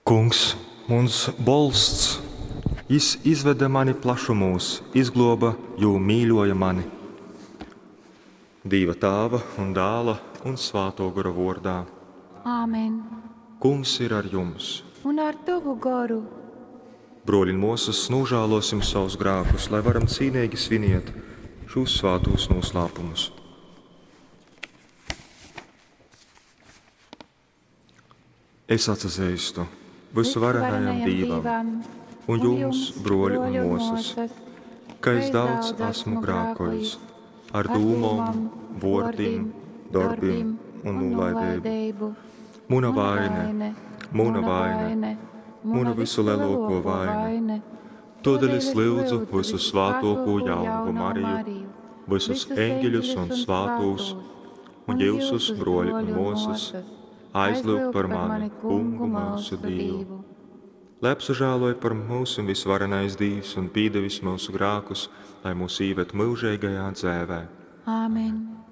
Kungs, muns bolsts, jys izvede mani plašumūs, izglōba, jū mīļōja mani. Dīva Tāva un Dāla, un Svātō Gora vōrdā. Āmen. Kungs ir ar jums! Un ar tovu goru. Brōļi un mōsas, nūžālōsim savus grākus, lai varam cīneigi sviniet šūs svātūs nūslāpumus. Es atsazeistu vysuvarenajam Dīvam un jums, brōļi un mōsas, ka es daudz esmu grākojis ar dūmom, vōrdim, dorbim un nūlaideibu. Muna vaine, muna vaine, muna vysulelōkō vaine. Tōdēļ es lyudzu vysusvātōkū jaunovu Mariju, vysus eņģeļus un svātūs, un jyusus, brōļi un mōsas, aizlyugt par mani Kungu myusu Dīvu. Lai apsažāloj par myusim vysvarenais Dīvs un pīdevis myusu grākus, lai mūs īved myužeigajā dzēvē. Āmen.